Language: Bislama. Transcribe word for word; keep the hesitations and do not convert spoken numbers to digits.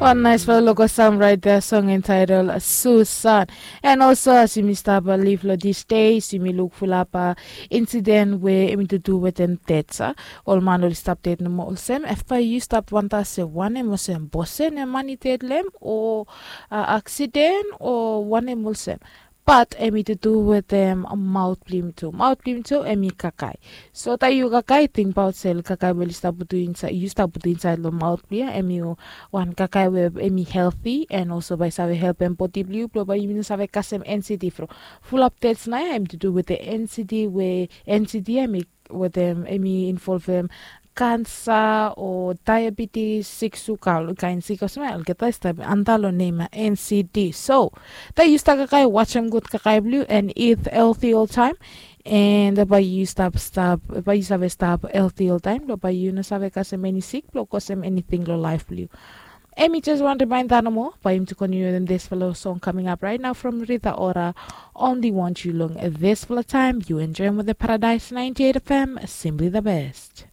Wan naispela local sam raet ya song entitled Susan. And also as yumi stap liv long dis days yumi luk fulap insiden we em i tutu wetem det. Ol man oli stap det nomo olsem efa yu stap wanta se wanem olsem bosen em man i det long em o aksiden o wanem olsem. Bat em i tutu wetem maot blong yumi tu maot blong yumi tu em i kakae. So taem yu kakae tingbaot se kakae we oli stap putu insaed yu stap putu insaed long maot blong yu em i wan kakae we em i helti en olso bae i save helpem bodi blong yu blong bae yumi no save kasem ensiti from fulap dets nao ya em i tutu wetem ensiti we ensiti ya em i wetem em i involvem kansa o daebitis sik suka ol kaen sik olsem ya olgeta i stap antap long nem ya ensiti. So taem yu stap kakae wasem gud kakae blong yu en it helti oltaem. En bae yu stap stap bae yu save stap helti oltaem blong bae yu no save kasem eni sik blong kosem eniting long laef blong yu. Em i jes wan rimaenda nomo bae yumi tu kontiniu wetem disfala song kaming ap raet nao from Rita Ora. Only want yu long disfala taem yu enjoem wetem Paradise ninety eight F M, simply the best.